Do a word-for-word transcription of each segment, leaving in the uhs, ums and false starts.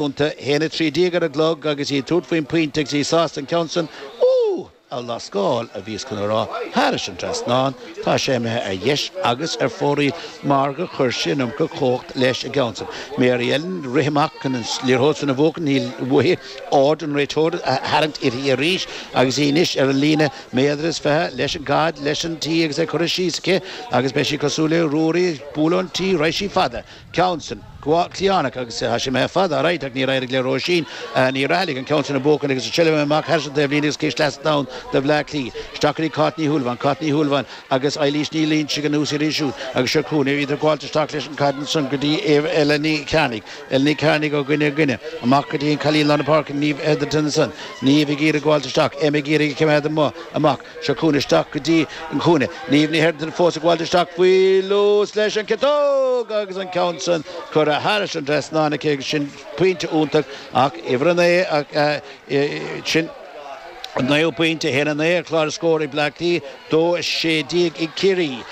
A haon a trí déag ar an gclog agus í ag tabhairt faoin bpointe agus í sásta an ceann san, ooh! a lascáil, a bhíos chun a rá, thairis an trasnán. Tá sé imithe ar dheis agus ar fóraoil mar gur chuir sí an iomarca cumhacht leis an gceann san. Mary Ellen ag rith amach chun an liathróid san a bhuachan, níl uaithi aird an réiteora a tharraingt uirthi arís agus í anois ar an líne méadar is fiche leis an gcaid, leis an tí agus é curtha síos aici agus beidh sí cosúil le Ruairí ag bualadh an tí, raghaidh sí fada. Ceann san. Cliatháin agus tá sé imithe fada, alright, ach níor éirigh le Róisín Ní Raghallaigh an ceann sin a bhuachan agus an tseilbh amach thar an taobhlíne agus ciste leath ann do Bhleá Cliath. Isteach go dtí Cáit Ní Shúilleabháin, Cáit Ní Shúilleabháin agus Eilís Ní Loingsigh anuas uirthi siúd agus seo chugainn iad ag gabháilt isteach leis an gcaid ansan go dtí Ella Ní Chearnaigh, Ella Ní Chearnaigh ó dhuine go duine, amach go dtí an cailín lár na páirce, Niamh Etherington ansan, Niamh ag iarraidh gabháilt isteach, Emma ag iarraidh a choimeád amuigh, amach. Seo chugainn isteach go dtí an cúinne. Niamh Ní Hetherington fós ag gabháilt isteach faoi luas leis an gciotóg agus an ceann san curtha thairis an trasnán aici agus sin pointe iontach ach uimhir a naoi ach sin an naoú pointe, a haon a naoi ar chlár na scór ag Bleá Cliath, dó a sé déag ag Ciarraí.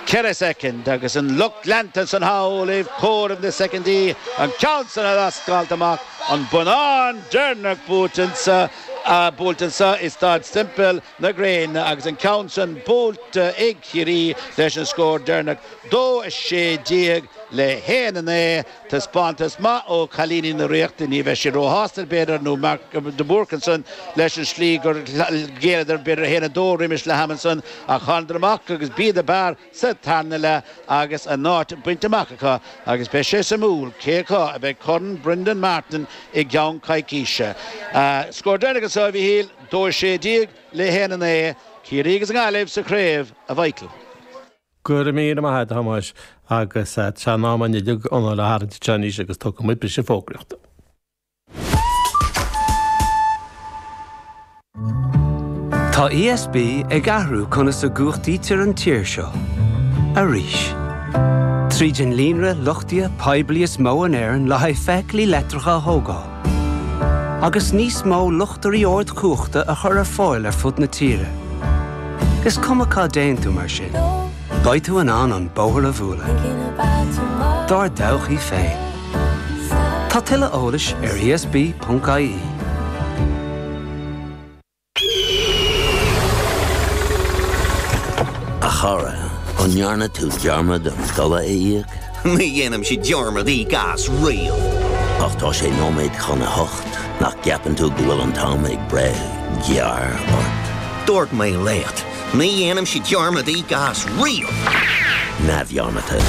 Ceithre soicind agus an lucht leanta ansan thall ag comhaireamh na soicindí, an ceann san a lascáilt amach, an bonnán deireanach buaite anso. Buailte anso i Staid Semple na Gréine agus an ceann san buailte ag Ciarraí leis an scór deireanach, dó a sé déag le haon a naoi. Taispeántas maith ó chailíní na Ríochta. Ní bheidh siad róshásta, b'fhéidir, nó Mark de Búrc ansan leis an slí gur ghéilleadar, b'fhéidir a haon a dó roimis leath ama ansan ach thánadar amach agus b'iad ab fhearr sa tarna leath agus a n-áit bainte amach acu agus beidh sé suimiúil cé acu a bheidh Corn Brendan Martin i gceann coicíse. Scór deireanach anso, a Mhíchíl, dó a sé déag le haon a naoi, Ciarraí agus an Ghaillimh sa chraobh, a Mhichael. Go raibh míle maith agat, a Thomáis, agus tá an am uilig anáil a tharraingt anseo anois agus tógfaidh muid briseadh fógraíochta. Tá ESB ag athrú conas a gcumhachtaítear an tír seo. Arís. Tríd an líonra luchtaithe poiblí is mó in Éirinn le haghaidh feithiclí leictreacha a thógáil. Agus níos mó luchtairí ardchumhachta a chur ar fáil ar fud na tíre. Is cuma cá dtéann tú mar sin, beidh tú in ann an bóthar a bhualadh. Dár dtodhchaí féin. Tá tuilleadh eolais ar ESB.ie. A chara, an ndearna tú dearmad an dola a íoc? Ní dhéanaimse dearmad íoc as riamh. Ach tá sé nóiméad chun a hocht, nach gceapann tú go bhfuil an t-am ag breith gearr ort? Dúirt mé leat, ní dhéanaimse dearmad íoc as riamh! Neamhdhearmadta.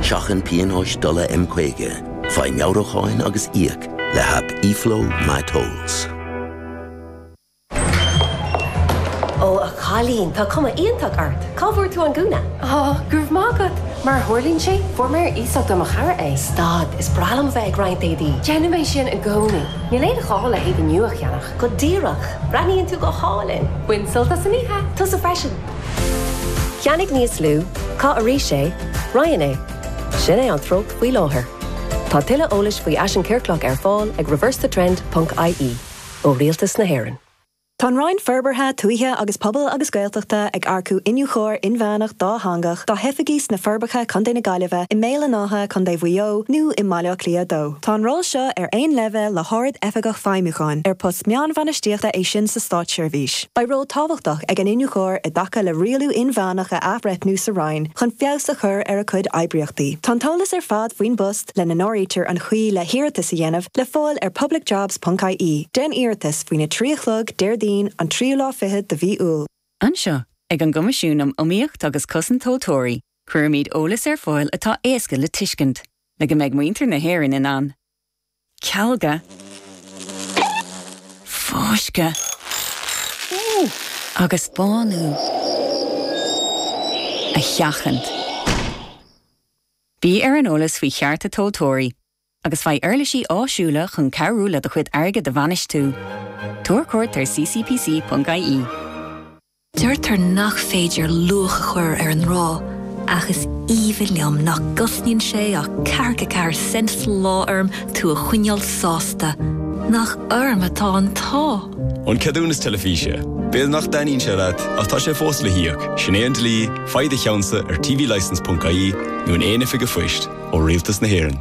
Seachain pionóis dola M caoga, faigh meabhrúcháin agus íoc le haip eFlow MyTolls. Ó, a chailín, tá cuma iontach ort. Cá bhfuair tú an gúna? Ó, go raibh maith agat. Mar a tharlaíonn sé, fuair mé ar iasacht ó mo chara é. Stad, is breá liom bheith ag roinnt éadaí. Déanaim é sin i gcónaí. Níl aon ghá le héadaí nua a cheannach. Go díreach. Breathnaíonn tú go hálainn. Bain sult as an oíche. Tusa freisin. Ceannaigh níos lú, caith arís é, roinn é. Sin é an treocht faoi láthair. Tá tuilleadh eolais faoi fhaisean ciorclach ar fáil ag reversethetrend ponc ie ó Rialtas na hÉireann. Tá an Roinn Forbartha Tuaithe agus Pobail agus Gaeltachta ag earcú Iniúchóir Inmheánach dátheangach dá hoifigí sna Forbacha, Contae na Gaillimhe, i mBéal an Átha, Contae Mhaigh Eo nó i mBaile Átha Cliath a dó. Tá an ról seo ar aon leibhéal le hArd-Oifigeach Feidhmiúcháin, ar post meánbhainistíochta é sin sa státseirbhís. Beidh ról tábhachtach ag an iniúchóir i dtaca le rialú inmheánach a athbhreithniú sa Roinn chun feabhas a chur ar a cuid oibríochtaí. Tá an t-eolas ar fad faoin bpost, lena n-áirítear an chaoi le hiarratas a dhéanamh, le fáil ar publicjobs.ie. Déan iarratas faoina trí a chlog Déardaoin an tríú lá fichead de mhí Iúil. Anseo, ag an gCoimisiún um Iomaíocht agus Cosaint Tomhaltóirí, cuirimid eolas ar fáil atá éasca le tuiscint, le go mbeidh muintir na hÉireann in ann cealga, fáisceadh agus bánú a sheachaint. Bí ar an eolas faoi chearta tomhaltóirí agus faigh uirlisí áisiúla chun cabhrú le do chuid airgid a bhainistiú. Tabhair cuairt ar ccpc.ie. Deirtear nach féidir luach a chur ar an ngrá, ach is aoibhinn liom nach gcosnaíonn sé ach ceathracha ceathair cent sa lá orm tú a choinneáil sásta. Nach orm atá an t-ádh! An ceadúnas teilifíse. B'fhéidir nach dtaitníonn sé leat, ach tá sé fós le híoc. Sin é an dlí, faigh do cheannsa ar tvlicence.ie nó in aon oifig an phoist ó Rialtas na hÉireann.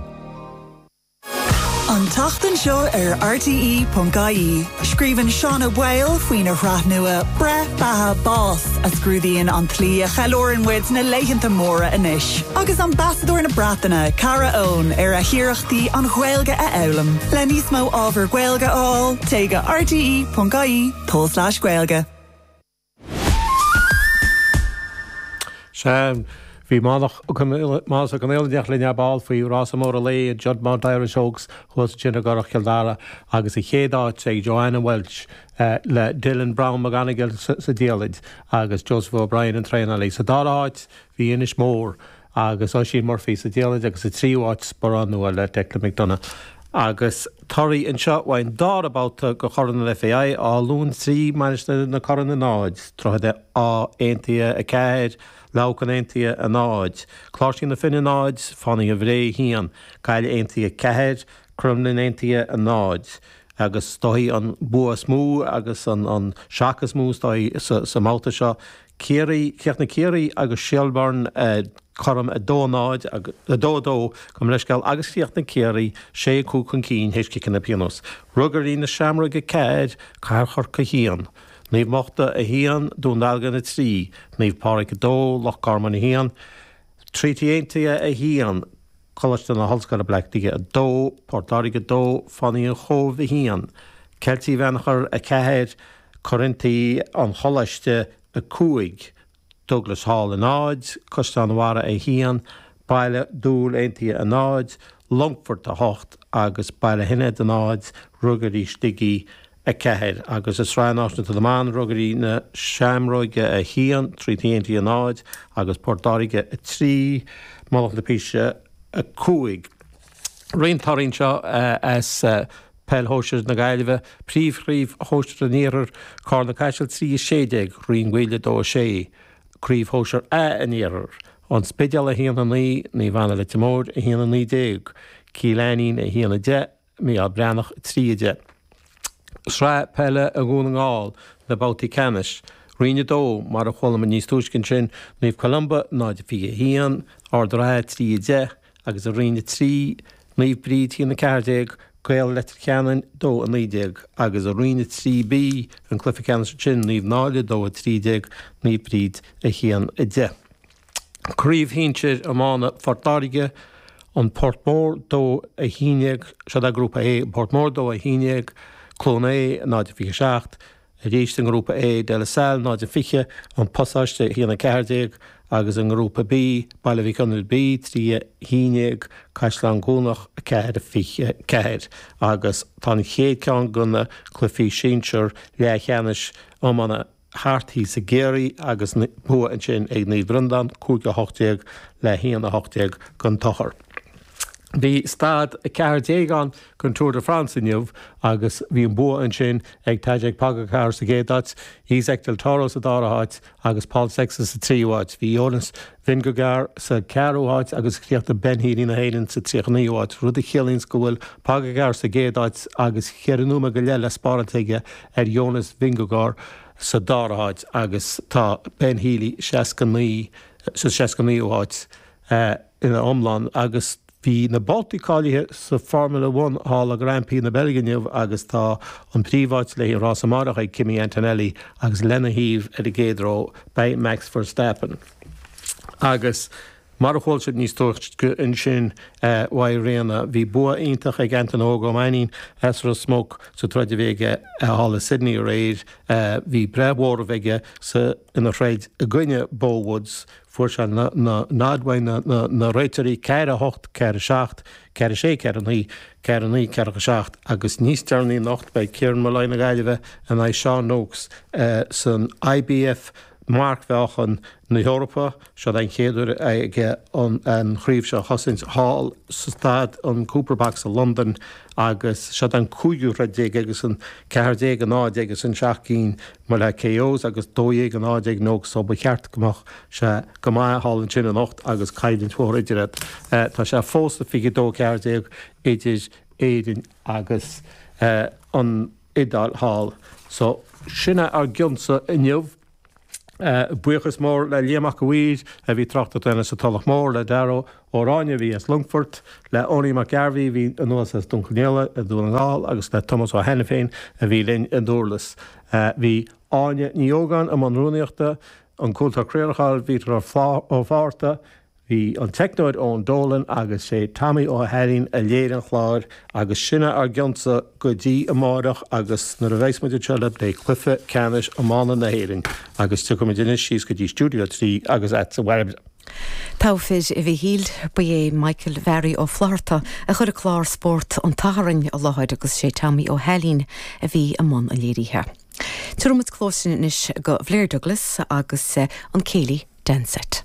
An An tseachtain seo ar RTE.ie. Scríobhann Seán Ó Baoill faoina shraith nua Breith Beatha Bás a scrúdaíonn an tslí a cheiliúrann muid na laethanta móra anois. Agus ambasadóir na Breataine Cara Eoin ar a hiarrachtaí an Ghaeilge a fhoghlaim. Le níos mó ábhar Gaeilge a fháil téigh go RTE.ie tulslais Gaeilge. Sea, bhí Mánas Ó Conghaile linn ar ball faoi rása mór an lae Juddmonte Irish Oaks thuas ansin i gCurrach Chill Dara agus sa chéad áit ag Joanna Walsh le Dylan Browne McGonigle sa diallait agus Joseph O'Brien an traenálaí. Sa dara háit bhí Inis Mór agus Oisín Murphy sa diallait agus sa tríú háit Sporán Nua le Declan McDonogh. Agus torthaí anseo ón dara babhta de Chorn an FAI Áth Luain trí Mainistir na Corann a náid, Droichead Átha Aontaithe a ceathair, Leamhcán Aontaithe a náid, Cláirsigh na Finne náid, Fánaithe Bhré a haon, Gaillimh Aontaithe a ceathair, Cromghlinn Aontaithe a náid. Agus is dóigh an bua is mó agus an an seac is mó is dóigh sa sa mbabhta seo, Ciarraí, chríochnaigh Ciarraí agus Shelbourne cothrom a dó a náid, a dó a dó, gabh mo leithscéal, agus chríochnaigh Ciarraí sé a cúig chun cinn théis ciceanna pionóis. Ruagairí na Seamróige a ceathair, Cathair Chorcaí a haon, Naomh Mochta a haon, Dún Dealgan a trí, Naomh Pádraig a dó, Loch Garman a haon, Treaty Aontaithe a haon, Coláiste na hOllscoile Baile Átha Cliath a dó, Port Láirge a dó, Fánaithe an Chóibh a haon, Ceiltigh Bheannchar a ceathair, Corinthigh an Choláiste a cúig, Douglas Hall a náid, Caisleán an Bharraigh a haon, Baile Dúill Aontaithe a náid, Longfort a hocht agus Baile Sheinéid a náid, Ruagairí Shligigh a ceathair. Agus i Sraith Náisiúnta na mBan, Ruagairí na Seamróige a haon, Treaty Aontaithe a náid agus Port Láirge a trí, Mullach na Píse a cúig. Roinnt torthaí anseo as Peil Shóisir na Gaillimhe, Príomhchraobh Shóisir an Iarthair, Carna Caiseal trí a sé déag, Rinn Mhaoile dó a sé, Craobh Shóisir A an Iarthair, An Spidéal a haon a naoi, Naomh Anna Leitir Móir a haon a naoi déag, Cill Ainnín a haon a deich, Mícheál Breathnach a trí a deich. Sraith Peile Dhún na nGall, na babhtaí ceannais, Roinn a dó, mar a chuala muid níos túisce ansin, Naomh Columba náid a fiche a haon, Ard an Rátha trí a deich, agus i Roinn a trí, Naomh Bríd a haon a ceathair déag, Gaeil Leitir Ceanainn dó a naoi déag, agus i Roinn a trí B, an cluiche ceannais ansin, Naomh Náille dó a trí déag, Naomh Bríd a haon a deich. Craobh Shinsir Iomána Phort Láirge, An Port Mór dó a haon déag, seo é Grúpa A, An Port Mór dó a haon déag, Cluain Aodha náid a fiche a seacht, Arís i nGrúpa A, De La Salle náid a fiche, An Pasáiste a haon a ceathair déag, agus i nGrúpa B, Baile Mhic Conaill B trí a haon déag, Caisleán Cuanach a ceathair a fiche ceathair. Agus tá an chéad ceann de na cluichí sinsir leathcheannais iomána thart thíos i gCiarraí agus bua ansin ag Naomh Breandán, cúig a hocht déag le haon a hocht déag den tsochar. Bhí staid a ceathair déag ann den Tour de France inniu agus bhí an bua ansin ag Tadej Pogacar sa gcéad áit, Isaac del Toro sa dara háit agus Paul Sexton sa tríú háit. Bhí Jonas Vingegaard sa ceathrú háit agus chríochnaigh Ben Healy na hÉireann sa tríocha naoú háit, rud a chiallaíonns go bhfuil Pogacar sa gcéad áit agus cheithre nóiméad go leith le spáráilt aige ar Jonas Vingegaard sa dara háit agus tá Ben Healy seasca naoi sa seasca naoú háit ina iomlán agus bhí na babhtaí cáilithe sa Formula One thall i Grand Prix na Beilge inniu agus tá an príomháit le haghaidh an rás amárach ag Kimi Antonelli agus lena thaobh ar an gcéad ró beidh Max Verstappen. Agus mar a chuala sibh níos túisce ansin uaidh Ríona, bhí bua iontach ag Antaine Óg Ó Mainnín as Ros Muc sa troid a bhí aige thall i Sydney aréir. Bhí breith mhóramh aige sa ina throid i gcoinne Beau Woods. Fuair sé na nod uaidh na réiteoirí, ceathair a hocht, ceathair a seacht, ceathair a sé, ceathair a naoi, ceathair a naoi, ceathair a seacht agus níos deireanaí anocht beidh Kieran Molloy na Gaillimhe in aghaidh Sean Noakes san IBF Marcmheáchan na hEorpa. Seo an chéad uair aige an chraobh seo a chosaint thall sa staid an Cooper Box i Londain agus seo an cúigiú throid déag agus an ceathair déag a náid agus an seacht gcinn mar le KOs agus dó dhéag a náid ag Noakes so ba cheart go mbeadh sé go maith thall ansin anocht agus coimhlint mhór idir iad. Tá sé fós fiche dó ceathair déag idir Éirinn agus an Iodáil thall. So sin é ár gcionsa inniu. Buíochas mór le Liam Mac a' Mhaoir a bhí tráchtaireacht a dhéanamh sa Tulach Mhór, le Dara Ó Ráinne a bhí as Longfort, le Owenie McGarvey a bhí anuas as Dún Conaola i nDún na nGall agus le Tomás Ó hAiniféin a bhí linn i nDurlas. Bhí Áine Ní Ógáin i mbun rúnaíochta, an Cúntóir Craolacháin Vítear Ó Fátharta, Bhí an teicneoir Eoin Dolan agus sé Tommy Ó hAilín a léirigh an clár agus sin é ár gcionsa go dtí amáireach agus nuair a bheas muid anseo le plé cluiche ceannais iomána na hÉireann agus tiocfaimid anois síos go dtí Stiúideo a trí agus agatsa a Bhairbre. Togha fir a Mhichíl, ba é Michael Mhary Ó Flatharta a chuir an clár Spórt an tSathairn i láthair agus sé Tommy Ó hAilín a bhí i mbun an léirithe. Tabharfaimid cluas anois go Blair Douglas agus an Céilí Dance Set.